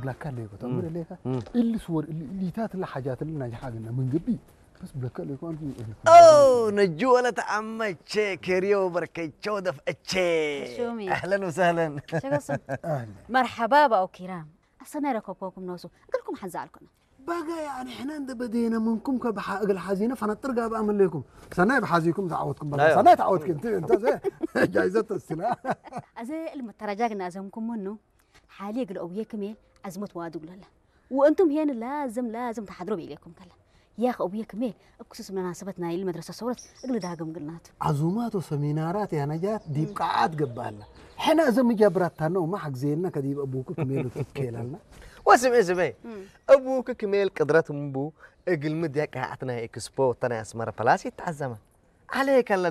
ብላካ ለይኮ ተምር ለይካ ኢልስ ወር ኢሊታት ለሓጃት ለናጅ ሓግና ምን ግቢ በስ ብለካ ለይኮ አንቱ أوه نجوى لتعمتش كريو بركيتشو دفعتش شومي. أهلا وسهلا ሸገሱም መርሓባ ባኡ ኪራም ኣሰናይ ረከብኮኩም ነሱ እግልኩም ሓንዛ ኣልኩና ባጋ ያኒ ሕና እንደ በደና ምንኩም ከብሓ እግል ሓዚነ ፈነጥር ጋብ ኣመለይኩም ሰናይ ብሓዚኩም ተዓወትኩም በላ ናዮ። ሰናይ ተዓወትክ እንት እንተ ዘ ጃይዘት ተስላ ኣዘ እልም ተራጃግና ኣዘምኩም ምኑ ሓሊ እግል ኣውየ ክሜል ኣዝሞት ዋዱ ግለላ ወእንቱም ሄን ላዝም ላዝም ተሓድሮ ቤሌኩም ከላ ያኽ ኣውየ ክሜል እኩሱስ መናሰበት ናይል መድረሰ ሰውረት እግል ዳግም ግልናቱ ዓዙማት ወሰሚናራት ያነጃት ዲብ ቃዓት ገባላ ሕና እዘ ምጃብራታ ነው ማሕግዜና ከዲብ ኣቡኩ ክሜሉ ትትከላልና واسمع اسمع أبوك كميل قدرة مبو እግል ምድያ ቃዓት ናይ ኤክስፖ ተናይ ኣስመረ ፕላስ ይተዓዘመ عليك الذي